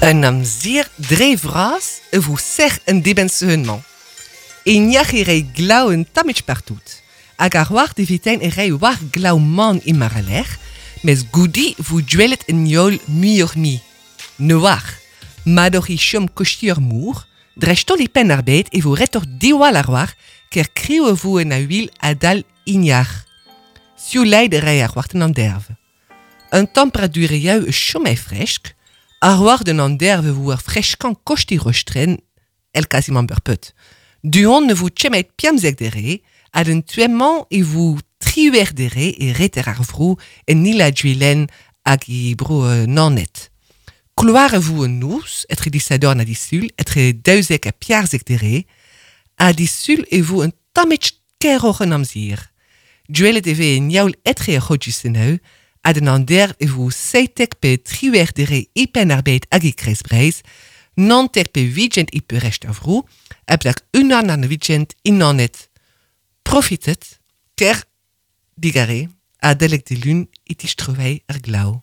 Un amzer dre vras e vo sec'h en dibenn-sizhun-mañ. E niac'h e rei glav un tammig partout. Hag ar war evitein e rei war glav man e mar-a-lec'h, mes goude vo duellet en heol muioc'h-mui. Ne oar. Mat oc'h e chom kosti ur mor, dreist-holl e Penn-ar-Bed e vo retoc'h diwall ar war ker kriv e vo en a-wil adal ignac'h. Sioulaet e rei ar war an anderv. Un temperaturioù e chom e fresk, ar war den anderv e vo ar freskañ kosti rostren el quasiment berpet. Du-hont ne vo chemet piamzek dere, ad un tuemañ e vo triwer dere e reter ar vro en nila duelen hag e bro nanet. Kloar e vo un noz, etre disadorn ha disul, etre daouzek ha piarzek dere, ha disul e vo un tammig keroc'h an amzer. Duelet e vez en yaoul etre ar c'hodjuseneu, ad an ander e vo seitek pe triwer dere e penn ar bed hag e kreiz Breizh, nantek pe vigent e peurrest ar vro, ha plak unan an vigent inanet. Profitet, ker digare, adalek de lun e tistrevei ar glav.